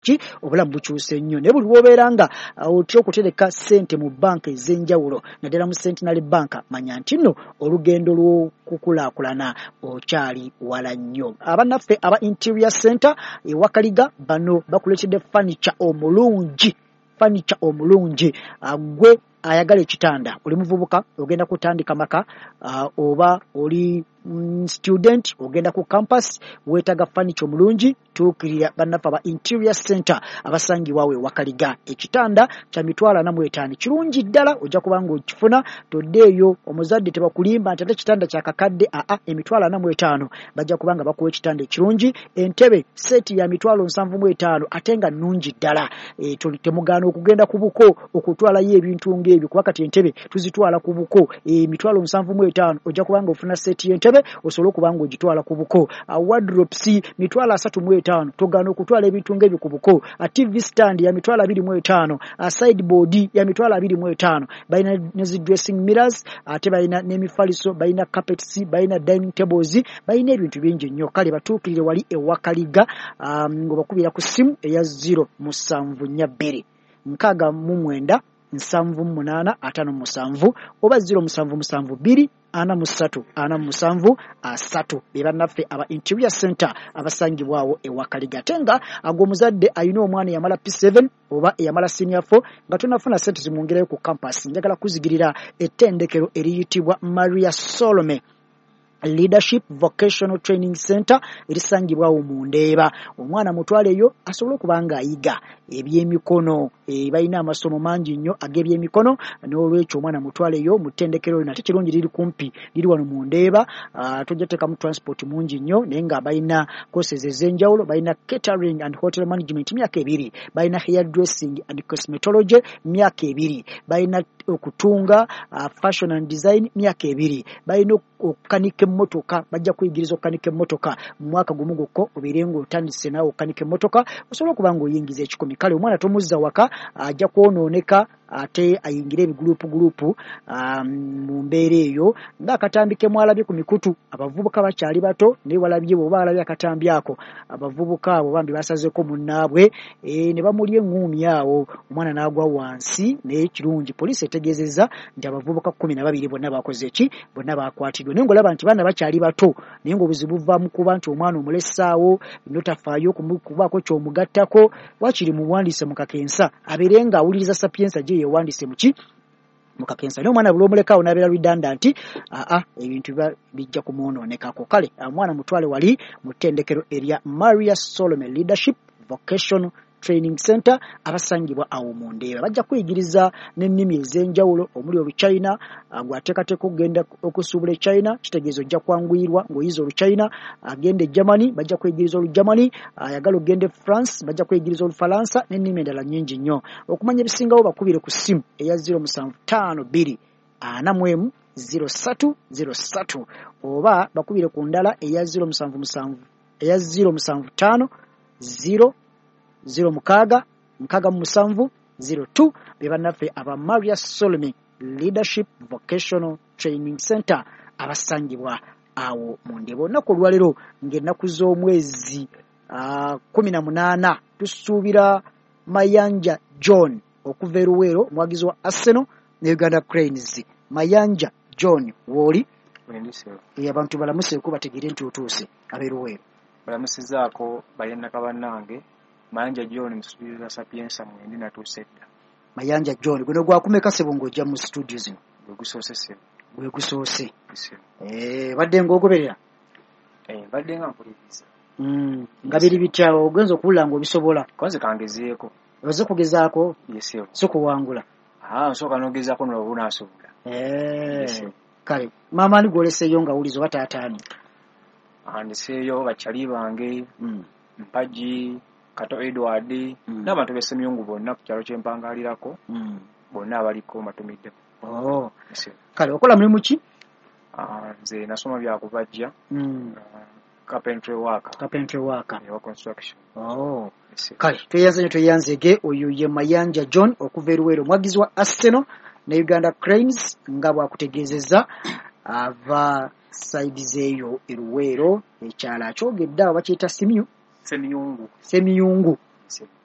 Ki obulamu bukyuse nnyo, naye buli lw'obeera nga otya okutereka ssente mu bbanka ez'enjawulo, naddala mu Centenary Bank, manya nti nno olugendo lw'okukulaakulana okyali wala nnyo. Abannaffe aba Interior Center e Wakaliga bano bakuleetedde furniture omulungi, furniture omulungi. Gwe ayagala ekitanda, oli muvubuka ogenda kutandika maka, oba oli student ogenda ku campus, weetaaga furniture omulungi, tuukirira bannaffe aba Interior Center abasangibwa awo e Wakaliga. Ekitanda kya 45,000, kirungi ddala, ojja kuba ng'okifuna, toddeeyo omuzadde tebakulimba nti ate ekitanda kya kakadde. Aa, 45,000 bajja kuba nga bakuwa ekitanda ekirungi. Entebe seeti ya 75,000 ate nga nnungi ddala. Temugaana okugenda ku buko okutwalayo ebintu ng'ebyo, kuba kati entebe tuzitwala ku buko. 75,000 ojja kuba ng'ofuna seeti y'entebe osobole okuba ng'ogitwala ku buko. Wardrobes 35,000, togaana okutwala ebintu ng'ebyo ku buko. TV stand ya 25,000, sideboard ya 25,000. Balina ne zi dressing mirrors, ate balina n'emifaliso, balina carpets, balina dining tables, balina ebintu bingi nnyo. Kale batuukirire wali e Wakaliga, ng'obakubira ku ssimu eya 0742 69 78 57 oba 0772 43 47 3. Be bannaffe aba Interior Center abasangibwawo e Wakaliga. Ate nga agwo omuzadde alina omwana eyamala P7 oba eyamala senior 4 nga tonafuna ssente zimwongerayo ku campus, njagala kuzigirira ettendekero eriyitibwa Maria Solome Leadership Vocational Training Center erisangibwawo mu Ndeeba. Omwana mutwaleyo asobole okuba ng'ayiga ebyemikono. Balina amasomo mangi nnyo ag'ebyemikono, n'olwekyo omwana mutwaleyo mu ttendekero lino. Ate kirungi liri kumpi, liri wano mu Ndeeba, tojja teekamu transport mungi nnyo, naye nga balina courses ez'enjawulo. Balina catering and hotel management myaka 2, balina hair dressing and cosmetology myaka 2, balina okutunga, fashion and design myaka 2, balina okukanika emmotoka, bajja kuyigiriza okukanika emmotoka mu mwaka gumu gwokka, obeere ng'otandise naawe okukanika emmotoka osobole okuba ng'oyingiza 1,000. Kale omwana tomuzza waka, ajja kwonooneka ate ayingire ebigulupu mu mbeera eyo ng'akatambi ke mwalabye ku mikutu. Abavubuka bakyali bato, naye walabye bw'oba walabye akatambi ako, abavubuka abo bambi basazeeko munnaabwe, ne bamulya eŋŋuumi awo, omwana n'agwa wansi. Naye kirungi poliisi etegeezezza nti abavubuka 12 bonna bakoze ki, bonna bakwatiddwa. Naye ng'olaba nti baana bakyali bato, naye ng'obuzibu buva mu kuba nti omwana omulesaawo notafaayo kubaako ky'omugattako. Waakiri muwandiise mu kakensa abeere ng'awuliriza Sapienza gye yeewandiise muki mu kakensa. Naye omwana buli omulekaawo n'abeera redundant, aa, ebintu biba bijja kumwonoonekako. Kale omwana mutwale wali mu ttendekero erya Maria Solome Leadership Vocational Training Center abasangibwa awo mu Ndeeba. Bajja kuyigiriza n'ennimi ez'enjawulo omuli Oluchina. Gwateekateeka okugenda okusuubula e China, kitegeeza ojja kwanguyirwa ng'oyiza Oluchina. Agenda e Germany, bajja kuyigiriza Olugermany. Ayagala okugenda e France, bajja kuyigiriza Olufalansa n'ennimi endala nnyingi nnyo. Okumanya ebisingawo bakubire ku ssimu eya 0752 41 03 03 oba bakubire ku ndala eya 077 eya 075 0 06 67 02. Be bannaffe aba Maria Solome Leadership Vocational Training Center abasangibwa awo mu Ndeeba. Olunaku olwaleero ng'ennaku z'omwezi 18, tusuubira Mayanja John okuva e Luweero, omuwagizi wa Arsenal ne Uganda Cranes. Mayanja John, wooli? Abantu balamuseeko bategeere nti otuuse, ab'e Luweero. Balamusizaako balennaka bannange. Mayanja John musuubiriza Sapienza, mwendi natuuse dda. Mayanja John, guno gwakumeka ssebo ng'ojja mu studio zino? Gwe gusoose ssebo. Gwe gusoose. Badde ng'ogoberera? Mbadde nga mpuliriza. Nga biri bitya, ogenza okuwulira ng'obisobola? Konze kangezeeko. Oze kugezaako? Ye ssebo. Si kuwangula? Nsooka n'ogezaako n'oba onaasobola. Kale maama ani gw'oleseeyo nga wuliza oba taata ani? Ndeseeyo bakyali bange, Mpagi, Kato Edward, n'abantu b'e Ssemyungu bonna ku kyalo kye mpangalirako, bonna abaliko mbatumiddeko. Kale okola mulimu ki? Nze nasoma bya kubajja. Carpentry work. Carpentry work. Ewa construction. Kale tweyanze nnyo, tweyanzege. Oyo ye Mayanja John okuva e Luweero, omuwagizi wa Arsenal ne Uganda Cranes, nga bw'akutegeezezza ava side z'eyo e Luweero. Ekyalo akyogedde awo bakiyita Simiyu? Semiyungu. Semiyungu. Kale.